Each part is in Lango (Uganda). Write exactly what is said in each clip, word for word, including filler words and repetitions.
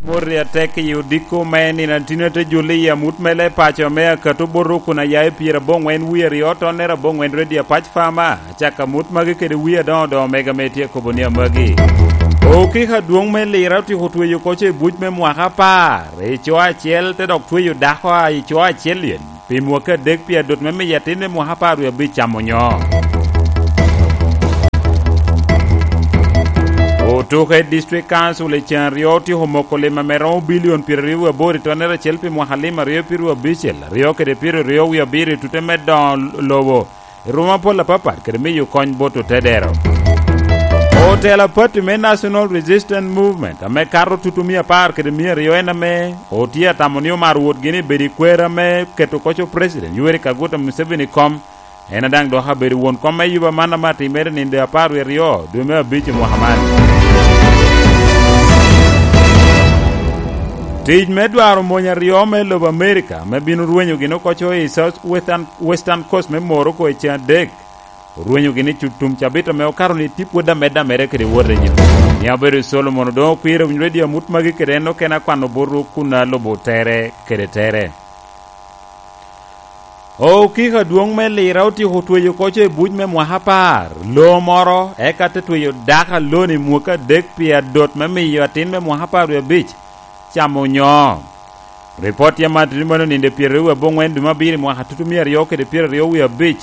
Morri atek i odiko me nino a tin ate juli i amut me le paco me akato boto kun aya i pyera aboŋwen wie aryo tonnere aboŋwen redio apac fama. Acako amut magi kede wie adoŋo doŋo mega me tye kobo ni amagi. Okiko adwoŋ me lira otyeko tweyo koco i buc me mwaka apar i co acel te dok tweyo dako a i co acel yen. Pi mwaka adek pi adot me miyo atin me mwaka apar wie abic camo nyo. Otuke District Council i cen aryo otyeko moko lim ame romo bilion pyeraryo wie aboro i tonnere acel pi mwaka lim aryo pyeraryo abicel, aryo kede pyeraryo wie abiro i tute me doŋo lobo i ruma pol apapat kede miyo kony bot otedero. Otelo apatti me National Resistance Movement ame kato tutu mia apar kede mia aryo en ame otye atamo ni omaro wot gini bedo i kwer ame keto koco President Yoweri Kaguta Museveni kom. En a daŋ dok abedo won kom me yuba man ame atimere ninde apar wie aryo dwe me abic i mwaka man. Tic me dwaro mony aryo me lobo Amerika me bino rwenyo gin okoco i South Western, Western Coast me Morocco i cen adek. Orwenyo gin i cu-, tum cabit ame okato ni tye pwod amedde amedde kede wot i nyo. Ni abedo i Solomon odoŋo kwir owinyo redio amut magi kede en okene akwano botwu kun alubo tere kede tere. Okiko adwoŋ me lira otyeko tweyo koco i buc me mwaka apar, lo moro, eka te tweyo dako aloni mwaka adek pi adot me miyo atin me mwaka apar wie abic camo onyo. Ripot tye man tye ni mano ninde pyeraryo wie aboŋwen dwe me abiro i mwaka tutu mia aryo kede pyeraryo wie abic.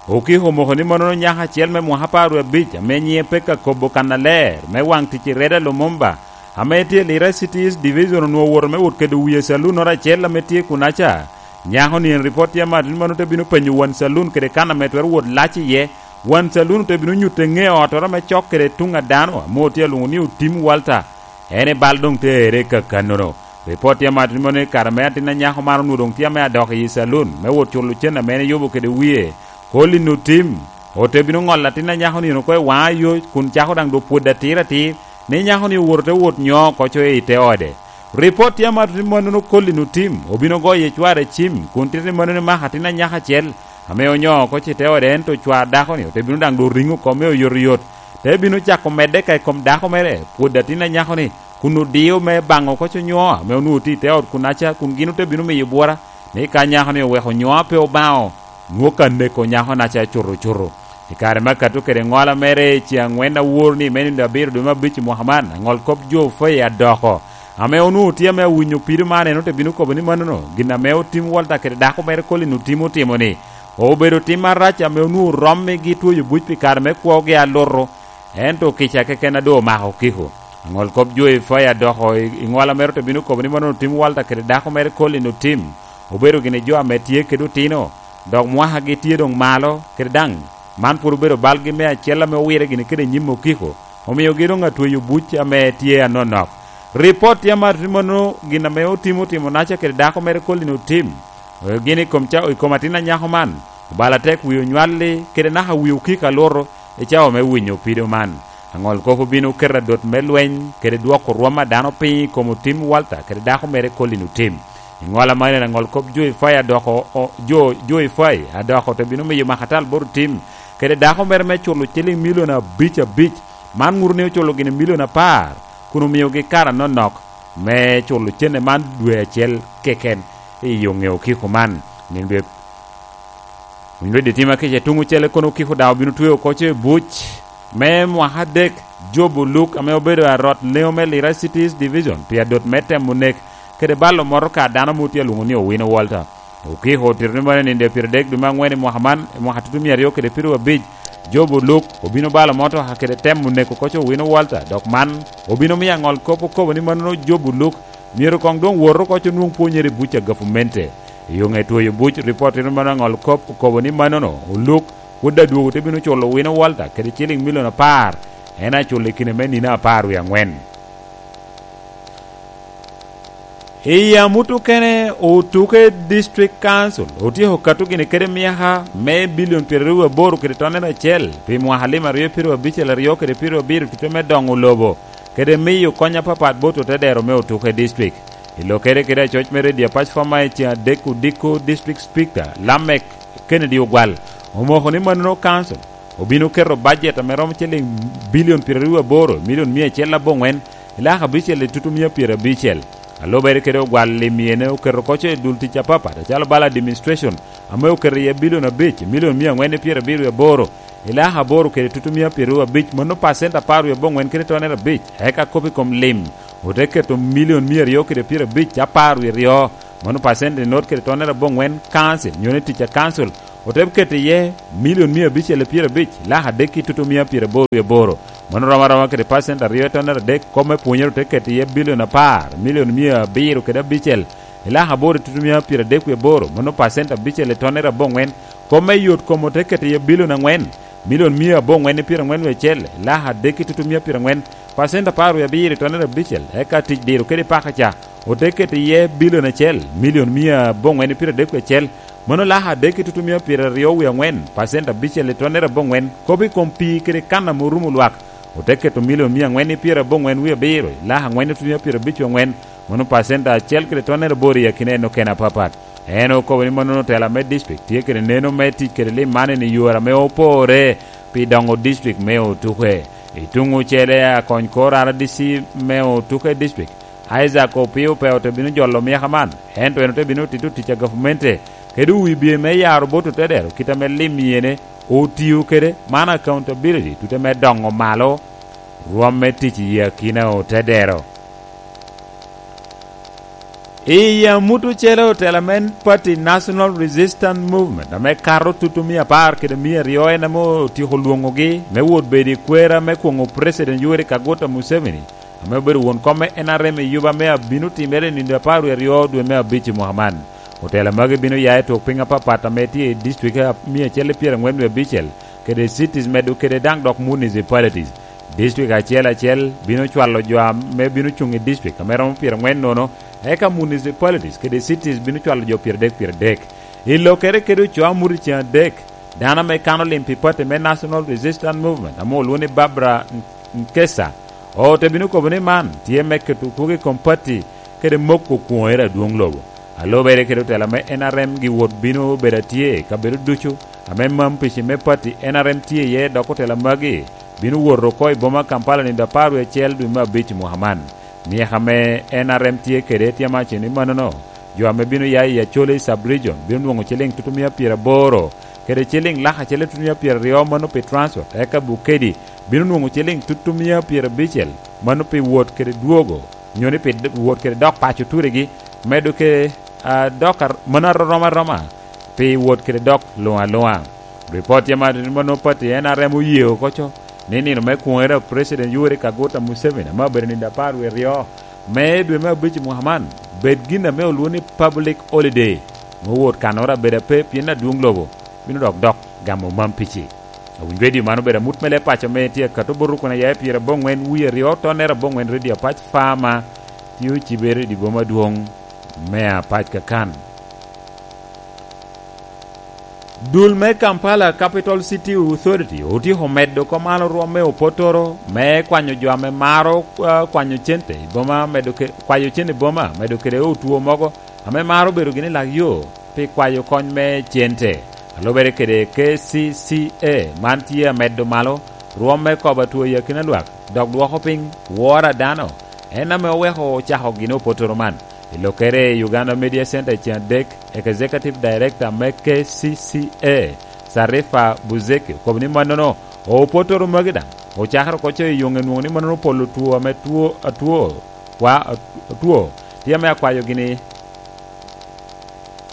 Okiko omoko ni mano nyako acel me mwaka apar wie abic ame nyiŋe pek akobo kannaler me waŋ tic i Reda Lumumba, ame tye i Lira City East Division onwoŋo owoto me wot kedo wie calunnoro acel ame tye kunaca. Nyako-ni en ripot tye amat ni mano te bino penyo wan calun kede kan ame twero wot lac iye. Wan calun te bino nyutte ŋe otoro me cok kede tuŋ a dano ame otye alwoŋo ni Otim Walter. En i bal doŋ te ere ka kannono. Ripot tye amat ni mano i kare me atin a nyako man onwoŋo doŋ tye ame adok i calun me wot culo cen ame en eyubo kede wie. Colin Otim ote bino ŋolo atin a nyako-ni en oko i waŋa yo kun cako daŋ do pwod atir atir. Ni nyako-ni owoto te wot nyo koco i te ode. Ripot tye amat ni mannono Colin Otim obino goyo ecware cim kun tito ni mannono mako atin anyaka acel ame onyo oko i te ode, ento cwar dako-ni ote bino daŋ do riŋo kome oyotoyot, te bino cako medde ka i kom dako mere pwod atin anyako-ni kun odio me baŋo koco nyo ame onwoŋo tye i te ot kunaca kun gin ote bino miyo bwora ni ka nyako-ni oweko nyo a pe obaŋo, nwoŋo ka neko nyako-naca cuto cuto. I kare me akato kede ŋola mere i ce aŋwen awor ni me nino abiro dwe me abic i mwaka man, aŋol kop jo Faye adoko, ame onwoŋo tye ame awinyo pido man, en ote bino kobo ni mannono gin ame Otim Walter kede dako mere Colin Otim otimo-ni, obedo tim arac ame onwoŋo rommigi twoyo buc pi kare me kwogi aluto, ento kica keken a doŋ omako Okiko. Aŋol kop jo i Faye adoko i, i ŋola mere ote bino kobo ni mannono Otim Walter kede dako mere Colin Otim obedo gin i jo ame tye kede otino, dok mwakagi tye doŋ malo, kede daŋ man pwod obedo balgi me acel ame owire gini kede nyim Okiko, omiogi doŋ atweyo buc ame tye anonok. Ripot tye amat ni mano gin ame Otim otimo naca kede dako mere Colin Otim, gin i kom ca-, i kom atin anyako man, obalo atek wie onywalli, kede naka wie Okiko aluto, i cawa me winyo pido man. Aŋol kop obino keto adot me lweny kede dwoko rwom a dano piny i kom Otim Walter kede dako mere Colin Otim. I ŋola man en aŋol kop jo i Faye adoko, o-, jo, jo i Faye adoko te bino miyo makatal bot Otim kede dako mere me culo ciliŋ milion abic abic. Man ŋuto ni oculo gini milion apar kun omiogi kare anonok me culo cene man dwe acel keken i yo ŋeo Okiko man. Nino dwe Winyo didi tim akica i tuŋ ocele kono Okiko daŋ obino tweo koco i buc me mwaka adek. Job Oluk ame obedo arot leŋo me Lira City East Division pi adot me temo nek kede balo motoka a dano ame otye alwoŋo ni Owino Walter. Okiko otito ni mano i nino dwe pyeradek dwe me aŋwen i mwaka man, i mwaka tutu mia aryo kede pyeraryo abic, Job Oluk obino balo motoka kede temo neko koco Owino Walter, dok man obino miyo aŋol kop okobo ni mano Job Oluk myero koŋ doŋ wot oko onwoŋ pwonyere i buc a gavumenti. I yo ŋe twoyo buc, ripot tito mano aŋol kop okobo ni mannono Oluk pwod adwogo te bino culo Owino Walter kede ciliŋ milion apar, en acul i kine me nino apar wie aŋwen. I amut okene, Otuke District Council otyeko kato gini kede myaka me bilion pyeraryo aboro kede tonnere acel pi mwaka lim aryo pyeraryo abicel aryo kede pyeraryo abiro tute me doŋo lobo kede miyo kony apapat bot otedero me Otuke District. I lokere kede acoc me redio apac fama i ceŋ adek odiko District Speaker Lamek Kennedy Ogwal omoko ni mannono Council obino keto bajet ame romo ciliŋ bilion pyeraryo aboro milion mia acel aboŋwen i lak abicel i tutumia pyerabicel. A lubere kede ogwal lim ene oketo koco i dul tic apapat, acalo bala administration, ame oketo iye bilion abic, milion mia angwen i pyerabiro i aboro, i lak aboro kede tutumia pyeraryo abic, mano pacent apar wie aboŋwen kede tonere abic, eka kop i kom lim, ote keto milion mia aryo kede pyerabic apar wie aryo, mano pacent i not kede tonere aboŋwen, kancil, nyo ni tic a kancil, ote keto iye milion mia abicel i pyerabic, lak adek i tutumia pyeraboro wie aboro, mano rom aroma kede pacent aryo i tonere adek, kop me pwonyere ote keto iye bilion apar, milion mia abiro kede abicel, i lak aboro i tutumia pyeraboro wie aboro, mano pacent abicel i tonere aboŋwen, kop me yot kom ote keto iye bilion angwen, milion mia aboŋwen i pyeraŋwen wie acel, i lak adek i tutumia pyeraŋwen, pacent apar wie abiro i tonere abicel, eka tic diro kede paka ca, ote keto iye bilion acel, milion mia aboŋwen i pyeradek wie acel, mano lak adek i tutumia pyeraryo wie aŋwen, pacent abicel i tonere aboŋwen, kop i kom pii kede kan ame orumo lwak, ote keto milion mia aŋwen i pyeraboŋwen wie abiro, i lak aŋwen i tutumia pyerabic wie aŋwen, mano pacent acel kede tonere aboro i akina en okene apapat. En okobo ni mannono otela me district tye kede neno me tic kede lim man i yore ame opore pi doŋo district me Otuke. I tuŋ ocele, akony kor R D C me Otuke district, Isaac Opio pe ote bino jolo myaka man, ento en ote bino tito tic a gavumenti kede wibye me yaro bot otedero kit ame lim yene otio kede, man accountability tute me doŋo malo rwom me tic i akina otedero. I amut ocele, otela me pati National Resistance Movement ame kato tutu mia apar kede mia aryo en ame otyeko lwoŋogi me wot bedo i kwera me kwoŋo President Yoweri Kaguta Museveni, ame obedo won kom me N R M i yuba me abino timere i nino apar wie aryo dwe me abic i mwaka man. Otela magi bino ya i twok piny apapat ame tye i district a mia acel i pyeraŋwen wie abicel, kede cities medo kede daŋ dok municipalities. District acel acel bino cwalo jo ame bino cuŋ i district ame romo pyeraŋwen nono, eka municipalities kede cities bino cwalo jo pyeradek pyeradek. I lokere kede ocoo amut i ceŋ adek, dano ame kano lim pi pati me National Resistance Movement ame olwoŋo ni Barbara Nkesa, ote bino kobo ni man tye me keto kwogo i kom pati kede moko kwoŋere adwoŋ lobo. A lubere kede otela me N R M, gi wot bino bedo atye i kabedo ducu ame mam pici me pati N R M tye iye, dok otela magi bino wot oko i boma Kampala nino apar wie acel dwe me abic i mwaka man. Myeka ame N R M tye kede tye amacen i mannono, jo ame bino ya i Acholi Sub-Region bino nwoŋo ciliŋ tutumia pyeraboro, kede ciliŋ lak acel i tutumia pyeraryo mano pi transport, eka Bukedi bino nwoŋo ciliŋ tutumia pyerabicel mano pi wot kede dwogo, nyo ni pi d-, wot kede dok paco turigi, medo ke, a, dok ar-, mano arom aroma pi wot kede dok luŋ aluŋa. Ripot tye ma, ma nwoŋo pati N R M oye oko co ni nino me kwoŋere a President Yoweri Kaguta Museveni ame obedo nino apar wie aryo me dwe me abic i mwaka man bed gin ame olwoŋo ni public holiday, me wot kannoro abedo ape pien adwoŋ lobo bino dok dok gamo mam pici. Awinyo redio man obedo amut me leb paco ame tye akato bot rukuna ya i pyeraboŋwen wie aryo tonere aboŋwen, redio Apac Farmer tye ocibere i dye boma adwoŋ me Apac kakan. Dul me Kampala Capital City Authority otyeko medo komalo rwom me opotoro me kwanyo jo ame maro, ah, kwanyo cente i boma, medo ke-, kwayo cente i boma, medo kede otwo mogo ame maro bedo gini lak yo pi kwayo kony me cente. A lubere kede K C C A, man tye amedo malo rwom me kobo atwo i akina lwak, dok dwoko piny woro a dano, en ame oweko ocako gin opotoro man. I lokere i Uganda Media Center i ceŋ adek, Executive Director me K C C A, Sarifa Buzeki, okobo ni mannono opotoro magi daŋ ocakere oko co i yoŋe nwoŋo ni mannono polo two ame two, atwo, kwa, atwo, tye ame akwayo gini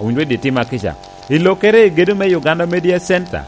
owinyo i dye tim akica. I lokere i gedo me Uganda Media Center,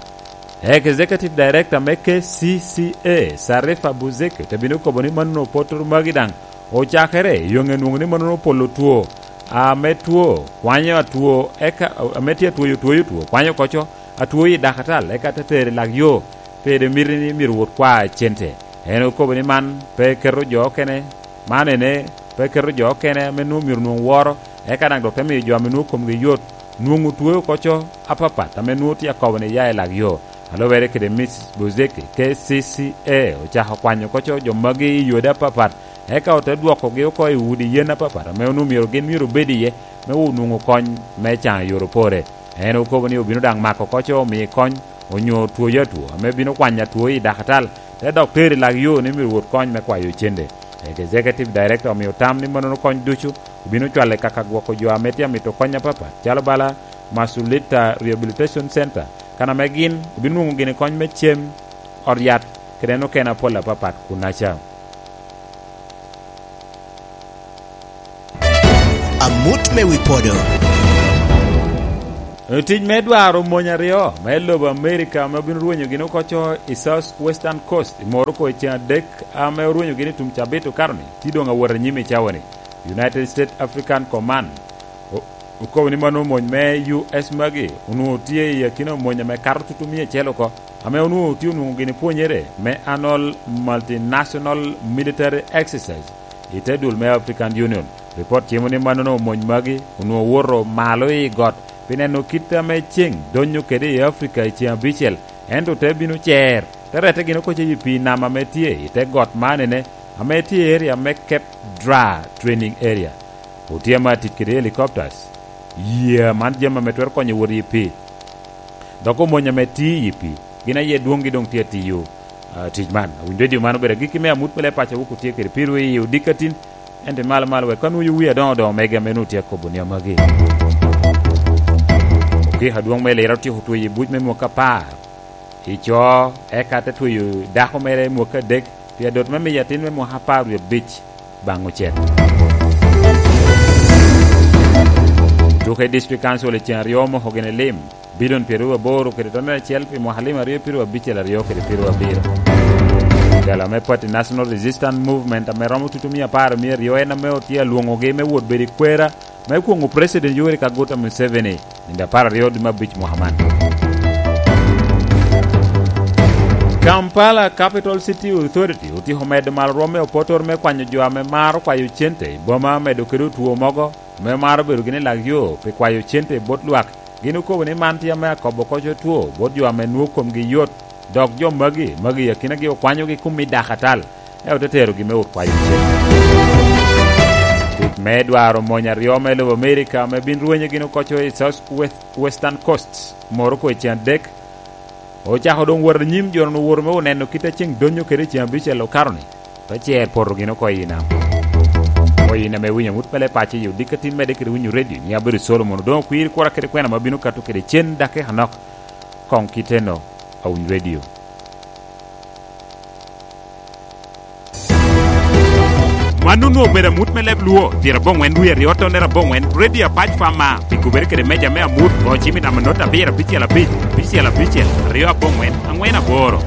Executive Director me K C C A, Sarifa Buzeki, te bino kobo ni mannono opotoro magi daŋ ocakere, yoŋe nwoŋo ni mannono polo two, ame two, kwanyo atwo, eka, ame tye atwoyo, twoyo two, kwanyo oko co, atwo i dakatal, eka te tero i lak yo, pede miti ni myero wot kwa cente. En okobo ni man pe keto jo okene, man ene, pe keto jo okene ame nwoŋo myero nwoŋ woro, eka daŋ dok te miyo jo ame nwoŋo komgi yot nwoŋo twoyo oko co apapat ame nwoŋo tye akobo ni ya i lak yo. A lubere kede Miss Buzeki, K C C A ocako kwanyo oko co jo magi i yode apapat, eka ote dwokogi oko i udi yen apapat ame onwoŋo myero gin myero obed iye me onwoŋo kony me caŋo i yore opore. En okobo ni obino daŋ mako oko co omi kony onyo twoyo atwo ame bino kwanyo atwo i dakatal, te dok tero i lak yo ni myero wot kony me kwayo cente. Executive Director omio tam ni mannono kony ducu obino cwale kaka gwoko jo ame tye amito kony apapat, calo bala Masulita Rehabilitation Center, kan ame gin obino nwoŋo gini kony me cem, ot yat, kede en okene apol apapat kunnaca. Amut me wi podo. Tic me dwaro mony aryo me lobo Amerika ame obino rwenyo gin oko co i South Western Coast i Morocco i ceng adek, ame orwenyo gin i tum cabit okaro-ni, tye doŋ awot anyim i cawa-ni. United States African Command o-, okobo ni mano mony me U S magi onwoŋo tye i akina mony ame kato tutumia acel oko, ame onwoŋo tye onwoŋo gini pwonyere me Annual Multinational Military Exercise i te dul me African Union. Ripot cimo ni mannono mony magi onwoŋo owoto malo i got pi neno kit ame ceŋ donyo kede i Africa i ceŋ abicel, ento te bino cer, te rette gin oko i pii nam ame tye i te got man ene, ame tye i area me Cape Dra Training Area. Otye ame atic kede helicopters, yee man jami ame twero konyo wot i pii. Dok omony ame tye i pii, gin aye dwoŋgi doŋ tye atiyo, ah, tic man. Awinyo redio man obedo agikki me amut me leb paco wok otye kede piro i odikatin, ento malo malo wek ka nwoyo wi adoŋo doŋo mege ame nwoŋo tye akobo ni amagi. Okiko adwoŋ me Lira otyeko tweyo i buc me mwaka apar i co, eka te tweyo dako mere mwaka adek, pi adot me miyo atin me mwaka apar wie abic baŋ ocet. Tuke i District Council i ceŋ aryo omoko gini lim, bilion pyeraryo aboro kede tonere acel pi mwaka lim aryo pyeraryo abicel aryo kede pyeraryo abiro. Jalo me Party National Resistance Movement ame romo tutumia apar mia aryo en ame otye alwoŋogi me wot bedo i kwera me kwoŋo President Yoweri Kaguta Museveni nino apar aryo dwe me abic mwaka man. Kampala Capital City Authority otyeko medo malo rwom me opotoro me kwanyo jo ame maro kwayo cente i boma, medo kede otwo mogo ame maro bedo gini lak yo pi kwayo cente bot lwak. Gin okobo ni man tye ame akobo koc otwo bot jo ame nwoŋo komgi yot, dok jo magi, magi i akinagi okwanyogi kun mi dako atal, ento te terogi me ot kwayo cen. Tic me dwaro mony aryo me lobo Amerika ame bin rwenyo gin okoco i South West-, Western Coast, Morocco i ceŋ adek, ocako doŋ wot anyim, jo-nu owoto me oneno kit a ceŋ donyo kede i ceŋ abicel okato-ni, te cer poto gin oko i nam. Oyin ame winyo amut me leb paco i odikatin medde kede winyo redio, nyiŋ abedo Solomon, odoŋo kwir kura kede kwena ma bino kato kede cen dakika anok. Koŋ kiteno, awiny redio. Mano onwoŋo obedo amut me leb Luo, pyerabongwen dwe aryo tonere abongwen, Radio Apac Fama, pi kubere kede meja me amut, go cim i namba not abiro abicel abic, abicel abicel, aryo abongwen, angwen aboro.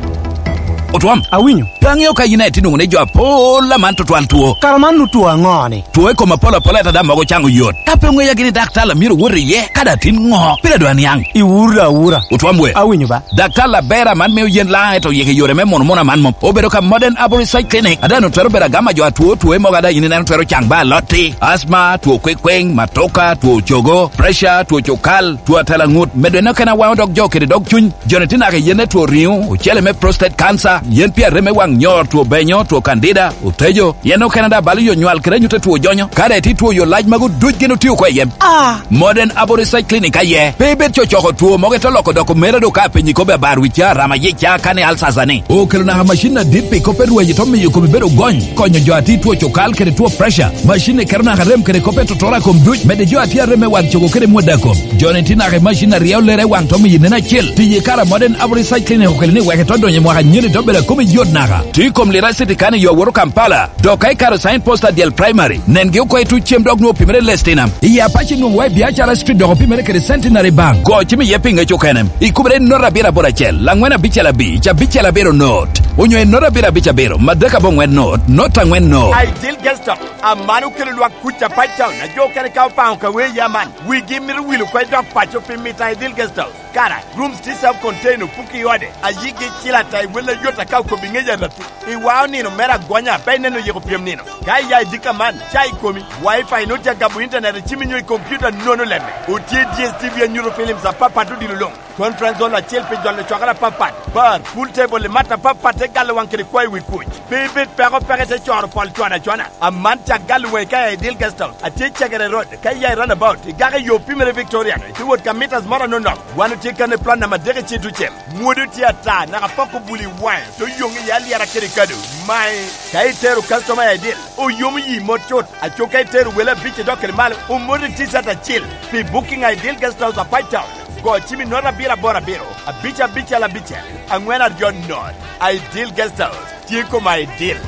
Otwom. Awinyo. Pe aŋeo ka yin aye tye nwoŋo ni jo apol aman tutwal two. Kara man otwo aŋo-ni? Two i kom apol apol ata daŋ mogo caŋo yot. Ka pe oŋeya gini daktar a myero wot iye, ka daŋ tin ŋo? Pire dwa niaŋ. Iwura awura. Otwom we. Awinyo ba. Daktar Labera man mio yen laŋ ento yeke yore me mono mono aman mom. Obedo ka Modern Arborist Side Clinic. Ada no twero bedo agama jo atwo two mogo ada yin ineno twero caŋ ba alotti. Asma, two kwekweŋ, matoka, two cogo, pressure, two cokal, two atela ŋut. Medo en okene awaŋo dog jo kede dog cuny. Joni tye naka i yen me two riŋo, ocele me prostate cancer, yen pi arem me waŋ nyor, two benyo, two candida, otejo, yen okene daŋ balo yo nywal kede anyut a two jonyo. Ka daŋ itye two yo lac magu duc gin otio oko i yem. Ah! Modern Arborist Side Clinic aye. Pe ibed cocoko two mogo ite loko doko mere do ka apenyi kobbi abar wicca, rama yica, kani alsasa ni. Okelo naka macin adit pi kop me rwaci to miyo komi bedo gony, konyo jo a tye two cokal kede two pressure. Macin-ni keto naka rem kede kop me totoro a kom duc, medde jo a tye arem me wang cogo kede mwodda kom. Joni tye naka i macin a ryeo lere i waŋ to miyo nen acel. Tiyo i kare a Modern Arborist Side Clinic okelo ni wek ito donyo i mwaka anyen ito bedo a komi yot naka. Tye i kom Lira City kan i yo awoto Kampala. Dok ka ikato sign post adyel Primary, nengi oko i tuc cem dok nwoŋo opimere i Lestinam. I Apac nwoŋo wa i Biacara Street dok opimere kede Centenary Bank. Go cim iye pi ŋec okene. Ikubere i note abiro aboro acel, laŋwen abicel abic, abicel abiro note. Onyo i note abiro abic abiro, madek aboŋwen note, note aŋwen note. Ideal Guest House, aman okelo lwak kuc Apac Town, a jo okene ka opaŋo ka wee ya man. Wigi mito wilo kwe dok paco pi mito Ideal Guest House. Kara, rooms tye self contained, opuki i ode, a yigi icil ata i wel ayot aka okobo i ŋec aratu. I wao nino mere agonya, pe ineno yiko pyem nino. Ka iya i dika man, ca i komi, Wi-Fi nwoŋo tye agamo internet i cimi nyo i computer nono lemme. Otye D S T V anyuto films apapat odilo luŋ. Conference hall acel pi jolo cokere apapat, bar, pool table i mat apapat te galo waŋ kede kwayo i wi kuc. Pe ibed peko peko ite coro pol cwana cwana. Aman cak galo waŋi ka i Ideal Guest House. Atye i Cegere Road, ka iya i roundabout, igako i yo pimere Victoria, ite wot ka meters moro anonok. Wan otye kan i plan namba adek i Citucem. Mwodo tye ata, naka pok obuli waŋe, te oyoŋ iye alyera kede kado. Mae, ka itero customer i Ideal, oyomo yi mot cut. Aco ka itero wele abic idok kede malo, omoto i T-shirt acel. Pi booking i Ideal Guest House a Pine Town, go cim i note abiro aboro abiro, abic abicel abicel, aŋwen aryo note. Ideal Guest House, tye koma Ideal.